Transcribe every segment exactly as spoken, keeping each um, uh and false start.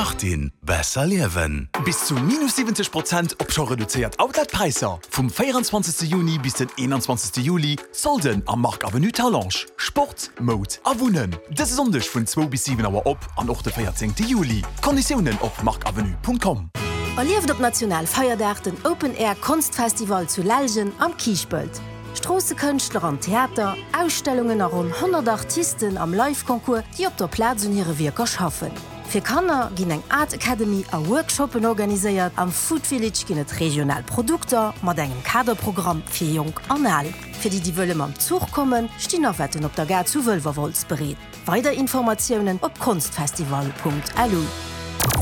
Martin, besser liewen. Bis zu minus siwwenzeg Prozent op scho reduzéiert Outlet-Präisser vum véierundzwanzegste Juni bis den eenanzwanzegste Juli, Solden am Marc Avenue Talange. Sport, Moud a Wunnen. Dëse Sonndeg vun zwou bis siwen Auer op an och de véierzéngte Juli. Konditiounen op marcavenue.com. Erlieft op Nationalfeierdag den Open Air Konstfestival zu Lellgen am Kiischpelt. Stroossekënschtler an Theater, Ausstellungen a ronn honnert Artisten am Live-Concours, déi op der Plaz un hire Wierker schaffen. Fir Kanner ginn eng Art Academy a Workshoppen organiséiert, am Food Village ginn et regional Produkter mat engem Kaderprogramm fir Jonk an Al. Fir déi, déi wëlle mam Zuch kommen, stinn Navetten op der Gare zu Wëlwerwolz bereet. Weider Informatiounen op konstfestival.lu.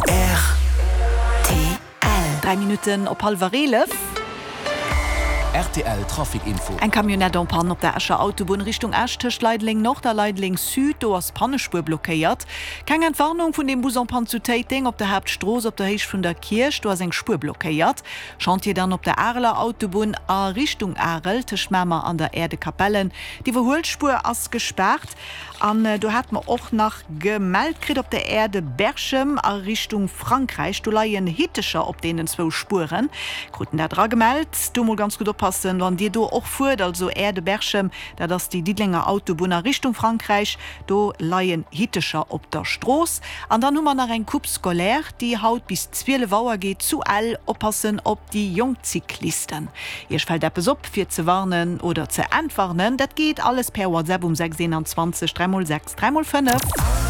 Rtl. Dräi Minutten op hallwer eelef. Rtl Trafic Info. Eng Camionnette en panne op der Escher Autobunn Richtung Esch tëscht Leideleng Nord a Leideleng Sud. Do ass d'Pannespuer blockéiert. Keng Entwarnung vun deem Bus en panne zu Téiteng op der Haaptstrooss op der Héicht vun der Kierch. Do ass eng Spuer blockéiert. Chantier dann op der Areler Autobunn a Richtung Arel tëscht Mamer an der Aire de Capellen. D'Iwwerhuelspuer ass gespaart. An do hate mer och nach gemellt kritt op der Aire de Berchem a Richtung Frankräich, do leien Hittecher op deenen zwou Spueren. Kruten dat eragemellt. Do mol ganz gutt oppassen, wann Dir do och fuert, also Aire de Berchem, dat ass déi Diddelenger Autobunn a Richtung Frankräich, do leien Hittecher op der Strooss. An dann hu mer nach eng Coupe scolaire, déi haut bis zwielef Auer geet zu Ell. Oppassen op déi jonk Cyclisten. Iech fält eppes op fir ze warnen oder ze entwarnen? Dat geet alles per WhatsApp um sechs eenanzwanzeg dräi mol sechs dräi mol fënnef.